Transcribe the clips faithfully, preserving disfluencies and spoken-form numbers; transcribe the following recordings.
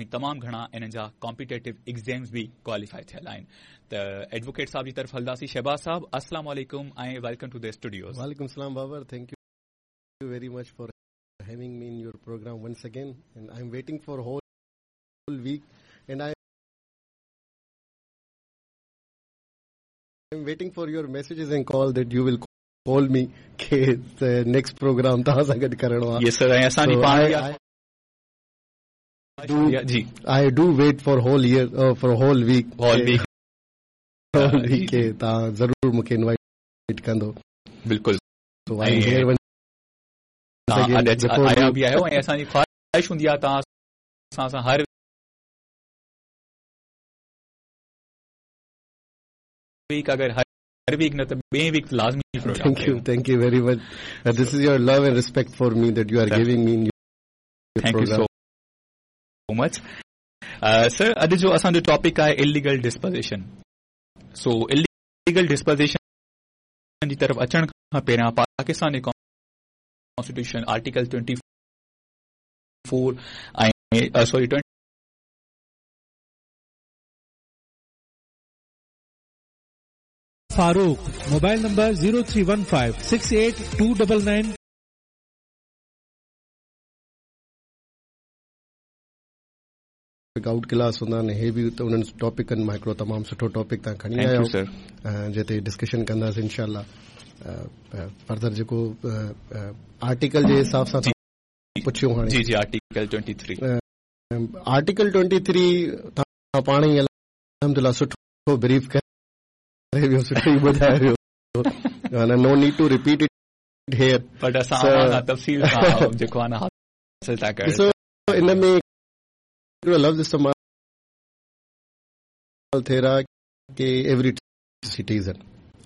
तमामु घणा इन्हनि जा कॉम्पिटेटिव एग्ज़ाम्स बि क्वालिफाई थियल आहिनि। त एडवोकेट साहब जी तरफ़ हलंदासीं। शहबाज साहब, अस्सलाम वालेकुम ऐं welcome to the studios. वालेकुम सलाम Babar, thank you very much for having me in your program once again, and I am waiting for whole week and I am waiting for your messages and call that you will call me के next programme तव्हां सां गॾु करिणो आहे। यस sir, ऐं असांजी पाण जी I do wait for whole year, for whole week, whole week whole week के तव्हां ज़रूर मूंखे इनवाइट कंदो। बिल्कुलु, सो I am here तव्हां आया बि आहियो ऐं असांजी ख़्वाहिश हूंदी आहे तव्हां असां सां हर वीक, अगरि हर वीक न त ॿिए वीक लाज़मी programme. Thank you, thank you very much. This is your love and respect for me that you are giving me in your thank you so much sir. अॼु जो असांजो टॉपिक आहे इलीगल डिस्पोज़िशन। सो illegal डिस्पोज़िशन जी तरफ़ अचण खां पहिरियां पाकिस्तान जी constitution article twenty four ऐं sorry twenty Farooq, mobile number zero three one five six eight two double nine out class हूंदा आहिनि। हे बि त उन्हनि टॉपिकनि मां हिकिड़ो तमामु सुठो टॉपिक तव्हां खणी आया आहियो जंहिं ते डिस्कशन कंदासीं इंशाअल्लाह। फर्दर जेको आर्टिकल जे हिसाब सां पुछियो हाणे। जी जी, article twenty three article twenty three तव्हां पाण ई अल्हम्दुलिल्लाह सुठो ब्रीफ करे वियो, सुठो ई ॿुधाए वियो, no need to repeat it here, but असां तफ़सील सां जेको आहे न हासिल था कयूं। ॾिसो इन में हिकिड़ो लफ़्ज़ इस्तेमालु थियल आहे की एवरी सिटीज़न।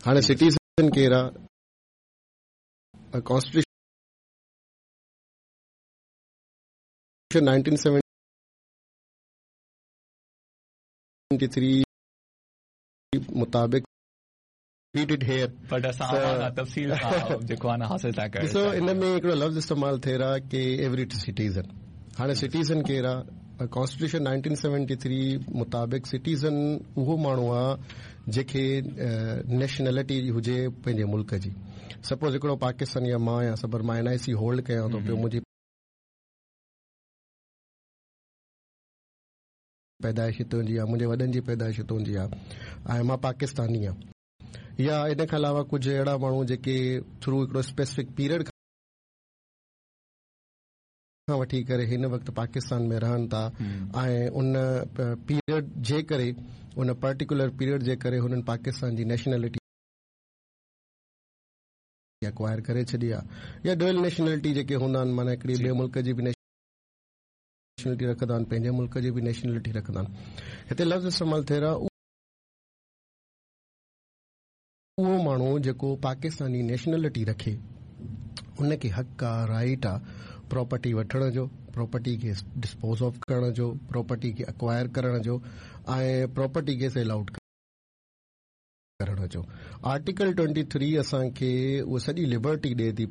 हाणे सिटीज़न केरु आहे? कॉन्स्टिट्यूशन नाइनटीन सेवेंटी थ्री मुताबिक़ रिपीटेड here, but असां तफ़सील सां जेको आहे न हासिल था कयूं। ॾिसो इन में हिकिड़ो लफ़्ज़ इस्तेमालु थियल आहे की एवरी सिटीज़न। हाणे सिटीज़न केरु आहे? कॉन्स्टिट्यूशन नाइनटीन सेवेंटी थ्री मुताबिक़ सिटीज़न उहो माण्हू आहे जंहिंखे नेशनलिटी हुजे पंहिंजे मुल्क जी। सपोज़ हिकिड़ो पाकिस्तानी आहे, मां आहियां, सबर मां एन आई सी होल्ड कयां थो पियो, मुंहिंजी पैदाइश हितां जी आहे, मुंहिंजे वॾनि जी पैदाइश हितां जी आहे ऐं मां पाकिस्तानी आहियां। या इन खां अलावा कुझु अहिड़ा माण्हू जेके थ्रू हिकिड़ो स्पेसिफिक पीरियड खां वठी करे हिन वक़्तु पाकिस्तान में रहनि था ऐं उन पीरियड जे करे, उन पर्टिकुलर पीरियड जे करे हुननि पाकिस्तान जी नेशनलिटी एक्वायर करे छॾी आहे। या डुअल नेशनलिटी जेके हूंदा आहिनि, माना हिकिड़ी ॿिए मुल्क जी बि नेशनलिटी रखंदा आहिनि, पंहिंजे मुल्क जी बि नेशनलिटी रखंदा आहिनि। हिते लफ़्ज़ इस्तेमालु थियल आहे उहो माण्हू जेको पाकिस्तानी नेशनलिटी रखे उनखे हक़ आहे, राइट आहे प्रॉपर्टी वठण जो, प्रॉपर्टी खे डिस्पोज ऑफ करण जो, प्रॉपर्टी खे एक्वायर करण जो ऐं प्रॉपर्टी खे सेल आउट करण जो। आर्टिकल ट्वेंटी थ्री असांखे उहा सॼी लिबर्टी ॾिए थी